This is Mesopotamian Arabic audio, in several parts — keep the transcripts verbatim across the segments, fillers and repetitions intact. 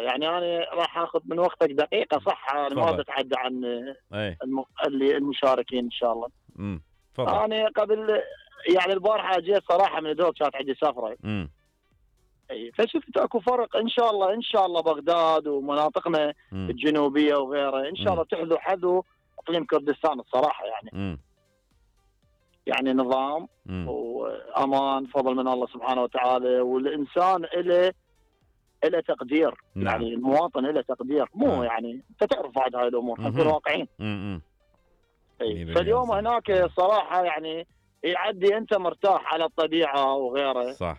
يعني انا راح اخذ من وقتك دقيقه صح، انا ما اتعدى عن الم... اللي المشاركين ان شاء الله. امم تفضل. انا قبل يعني البارحه جيت صراحه من الدوق، كانت عندي سفره. امم اي فشفت اكو فرق ان شاء الله ان شاء الله بغداد ومناطقنا مم. الجنوبيه وغيرها ان شاء الله تحذو حذو اقليم كردستان الصراحه يعني. مم. يعني نظام مم. وامان فضل من الله سبحانه وتعالى، والانسان له له تقدير. نعم. يعني المواطن له تقدير، مو نعم. يعني انت تعرف بعد هاي الامور، نكون واقعيين. فاليوم هناك صراحه يعني يعدي انت مرتاح على الطبيعه وغيره. صح.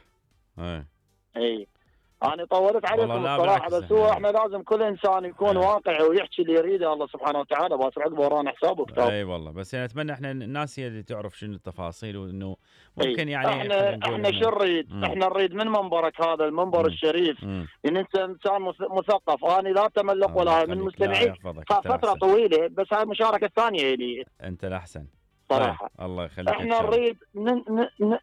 اي اي انا طولت عليكم الصراحه، بس هو احنا لازم كل انسان يكون أي. واقعي ويحكي اللي يريده الله سبحانه وتعالى، بس عقبه ورانا حساب وكتاب. اي والله، بس يعني اتمنى احنا الناس هي اللي تعرف شنو التفاصيل، وانه ممكن يعني احنا احنا شو نريد؟ احنا نريد من منبرك هذا المنبر مم. الشريف مم. ان انت انسان مثقف. انا لا تملق ولا من المستمعين فتره طويله، بس هاي المشاركه الثانيه لي انت الاحسن صراحه. طيب. الله يخليك. احنا نريد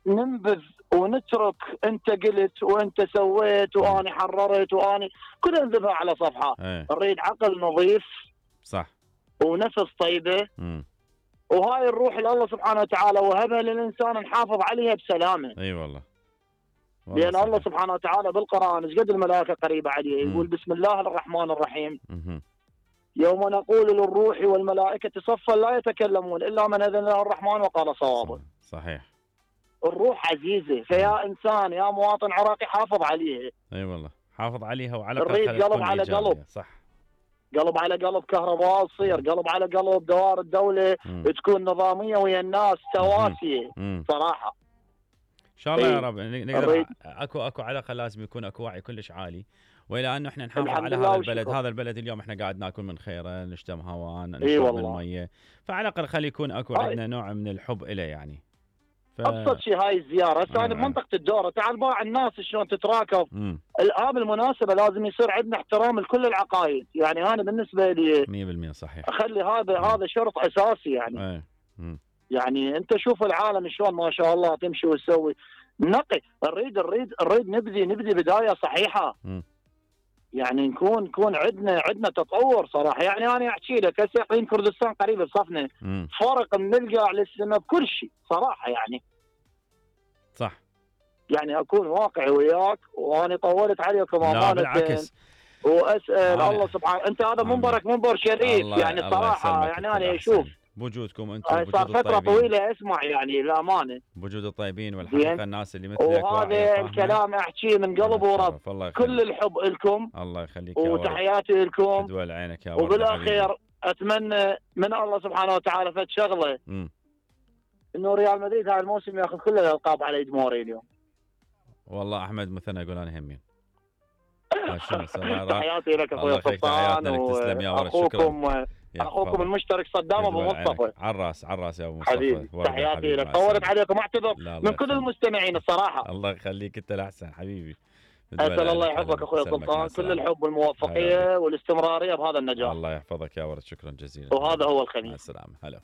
ننبذ ونترك انت قلت وانت سويت واني حررت واني كلها نذبها على صفحه. ايه. نريد عقل نظيف صح ونفس طيبه. امم وهاي الروح اللي الله سبحانه وتعالى وهبها للانسان نحافظ عليها بسلامه. اي أيوة والله. والله لان صحيح. الله سبحانه وتعالى بالقران ايش قد الملائكه قريبه عليه، يقول بسم الله الرحمن الرحيم. مم. يوم نقول للروح والملائكه صفا لا يتكلمون الا من اذن له الرحمن وقال صوابا. صحيح. الروح عزيزه، فيا انسان يا مواطن عراقي حافظ عليها. اي أيوة والله، حافظ عليها وعلى نريد قلب على قلب. صح. قلب على قلب كهرباء تصير، قلب على قلب دوائر الدوله مم. تكون نظاميه ويا الناس تواسيه صراحه. ان شاء الله يا رب نقدر. اكو اكو على الاقل لازم يكون اكو وعي كلش عالي، والى انه احنا نحافظ على هذا البلد. هذا البلد اليوم احنا قاعد ناكل من خيره، نشتم هواء، نشرب من الميه، فعلى الاقل خلي يكون اكو عندنا نوع من الحب له يعني. ف... ابسط شيء هاي الزياره. هسه انا بمنطقه الدوره، تعال باع الناس شلون تتراكب. الان بالمناسبه لازم يصير عندنا احترام لكل العقائد، يعني انا بالنسبه لي مية بالمية صحيح. اخلي هذا مم. هذا شرط اساسي يعني. ايه. يعني انت شوف العالم شلون ما شاء الله تمشي وتسوي نقي. نريد نريد نريد نبذي نبذي بدايه صحيحه. م. يعني نكون نكون عندنا عندنا تطور صراحه. يعني انا احكي لك هسه اقليم كردستان قريب بصفنا، فرق من القاع للسماء بكل شيء صراحه يعني. صح. يعني اكون واقعي وياك، وانا طولت عليكم امانه. لا بالعكس. واسال الله سبحانه. انت هذا منبرك منبر شريف يعني صراحه. يعني انا اشوف بوجودكم انتم بوجود صار فتره طويله اسمع يعني الامانه بوجود الطيبين والحقيقه الناس اللي مثلك. وهذا الكلام احكيه من قلب ورب. كل الحب لكم. الله يخليك يا ورب. وتحياتي لكم. تدول عينك يا ورب. وبالاخير اتمنى من الله سبحانه وتعالى فد شغله، انه ريال مدريد هاي الموسم ياخذ كل الالقاب على يد مورينيو. والله احمد مثنى يقول انا همين. تحياتي لك اخوي سلطان، واخوكم اخوكم المشترك صدام ابو مصطفى. على الراس على الراس يا ابو مصطفى. حبيبي تحياتي لك. طولت عليكم اعتذر من كل المستمعين الصراحه. الله يخليك انت الاحسن حبيبي. اسال الله يحفظك اخوي سلطان، كل الحب والموفقيه والاستمراريه بهذا النجاح. الله يحفظك يا ولد، شكرا جزيلا. وهذا هو الخميس. مع السلامه. هلا.